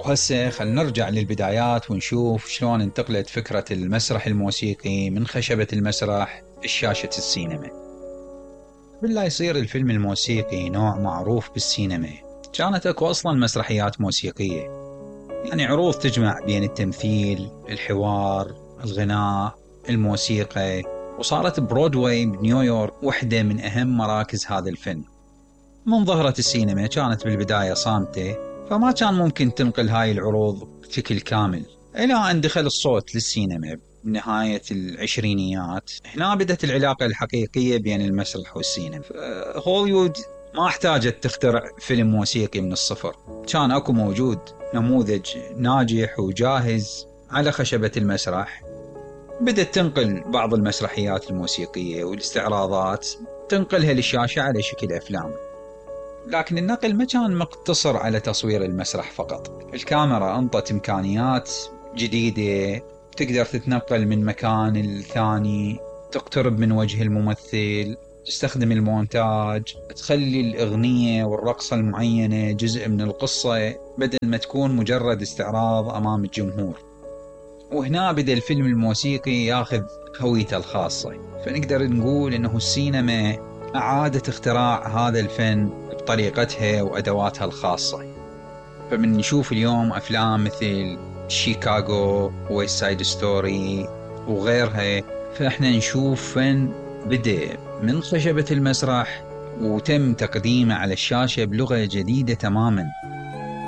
وهسه خلينا نرجع للبدايات ونشوف شلون انتقلت فكرة المسرح الموسيقي من خشبة المسرح لشاشة السينما. قبل لا يصير الفيلم الموسيقي نوع معروف بالسينما، كانت اكو اصلا مسرحيات موسيقية، يعني عروض تجمع بين التمثيل، الحوار، الغناء، الموسيقى، وصارت برودواي بنيويورك واحدة من أهم مراكز هذا الفن. من ظهرت السينما كانت بالبداية صامتة، فما كان ممكن تنقل هاي العروض بشكل كامل، إلى أن دخل الصوت للسينما بنهاية العشرينيات. هنا بدت العلاقة الحقيقية بين المسرح والسينما. هوليوود ما احتاجت تخترع فيلم موسيقي من الصفر، كان اكو موجود نموذج ناجح وجاهز على خشبة المسرح. بدت تنقل بعض المسرحيات الموسيقية والاستعراضات، تنقلها للشاشة على شكل أفلام. لكن النقل ما كان مقتصر على تصوير المسرح فقط، الكاميرا أنطت إمكانيات جديدة، تقدر تتنقل من مكان للثاني، تقترب من وجه الممثل، تستخدم المونتاج، تخلي الأغنية والرقصة المعينة جزء من القصة بدل ما تكون مجرد استعراض أمام الجمهور. وهنا بدأ الفيلم الموسيقي ياخذ هويته الخاصة، فنقدر نقول إنه السينما أعادت اختراع هذا الفن بطريقتها وأدواتها الخاصة. فمن نشوف اليوم أفلام مثل شيكاغو، ويست سايد ستوري وغيرها، فإحنا نشوف فن بدأ من خشبة المسرح وتم تقديمه على الشاشة بلغة جديدة تماماً.